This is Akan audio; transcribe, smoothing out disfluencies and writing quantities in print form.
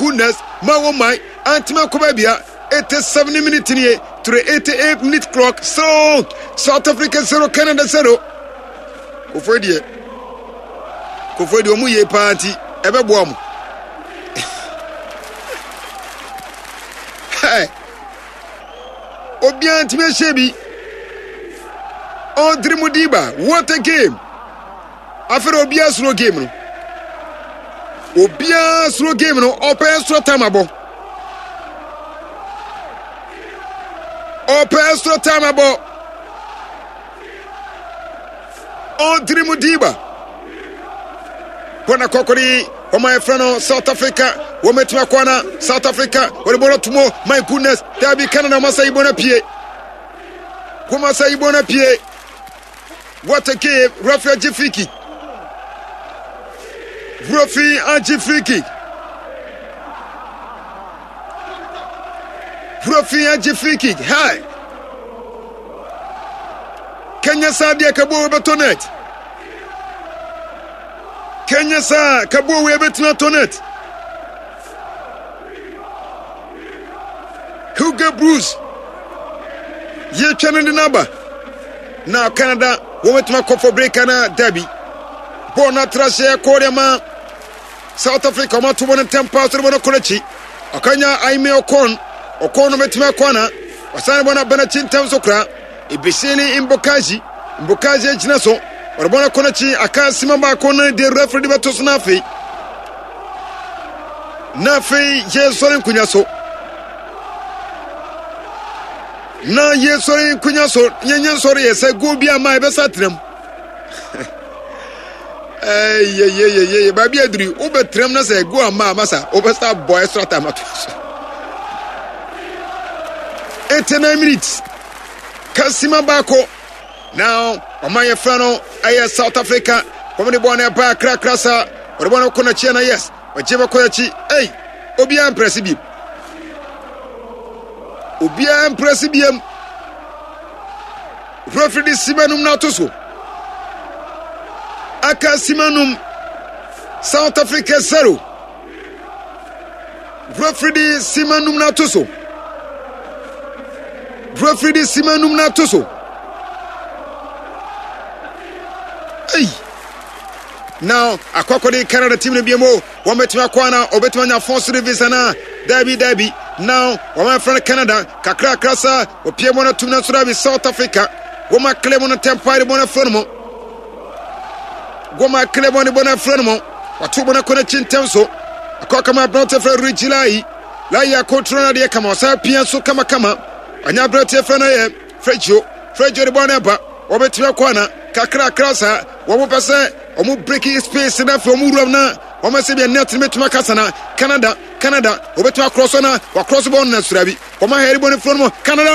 goodness, ma wɔn man antumi ankɔ baabi a. 87 minute nie to the 88 minute clock, so South Africa 0, Canada 0. Kofoɔ deɛ, kofoɔ deɛ ɔmo yie paa nti ɛbɛboa ɔmo. Hey, obiara ntumi ahyɛ bi. Ɔdiri mu diba, what a game! Afei de obiara suro game no. Obiara suro game no, ɔpɛ extra time abɔ. Ɔpɛ extra time abɔ. Ɔdiri mu diba. Bɔna kɔkɔri wɔn a yɛfrɛ no South Africa wɔn atumi akɔ ana South Africa wɔde bɔɔl ato mu. My goodness, dabi Canada wɔn asa yi bɔɔl apue. Wɔn asa yi bɔɔl apue. What a game! Referee agye free kick. Referee agye free kick. Referee agye free kick. Hi. Kenya saa deɛ kabuo bɛtɔ net. Kenya saa kabuo wei bɛtumi atɔ net. Hugo Bruce yɛtwa no de no aba na Canada wɔbɛtumi akɔ for break ana dabi. Bɔɔl no atra aseɛ kɔɔ de ama South Africa, wɔn ato bɔ no ntɛm paa so de bɔ no kɔ n'akyi. Ɔkanya Aime Ɔkɔn, Ɔkɔn no bɛtumi akɔ ana ɔsan bɔ no aba n'akyi ntɛm so koraa. Ebesini Mbokazi, Mbokazi agyina so, ɔde bɔ no kɔ n'akyi aka sima baako no de referee de bɛto so na afei na afei yɛsɔre nkonya so na yɛsɔre nkonya so yɛnyɛ nsɔre yɛ sɛ goal bi ama yɛbɛsa tenam yeyeyeye baabi aduri wobɛtenam na sɛ goal ama ama sa wobɛsa bɔ extra time ato so. 89 minutes kasima baako na ɔma yɛfrɛ no ɛyɛ South Africa. Wɔn de bɔɔl no ɛba krakra sa wɔde bɔɔl no kɔ n'akyi na yes, ɔgye bɛkɔ n'akyi. Ei, obiara mprɛse biem, obiara mprɛse biem. Referee de sima num no ato so, aka sima num, South Africa 0. Referee de sima num no ato so. Referee de sima num no ato so. Ei! Now, akɔkɔde Canada team no bi mu, wɔn bɛtumi akɔ ana, wɔbɛtumi anya force service ana, dabi dabi. Now, wɔn afrɛ no Canada, kakrakra sa, wɔpie mu no tum no nso dabi South Africa, wɔn akele mu no ntɛmpa de bɔ no afrɛ no mu. Wɔn akele mu no bɔ no afrɛ no mu. Wato bɔ no akɔ n'akyi ntɛm so. Akɔ kama aberante frɛ Reggie Lai. Lai akɔtoro no adeɛ kama, ɔsan pia so kamakama. Ɔnya aberante frɛ no yɛ Frɛgio. Frɛgio de bɔ no ɛba. Wɔbɛtumi akɔ ana kakrakra saa. Wɔn pɛ sɛ wɔn breaking space na afei wɔn wuram na wɔn sɛ deɛ net no bɛtumi akasa na Canada Canada wɔbɛtumi akorɔ so na wakorɔ so bɔ no na surabi. Wɔn ahɛre bɔ no furo no mu Canada.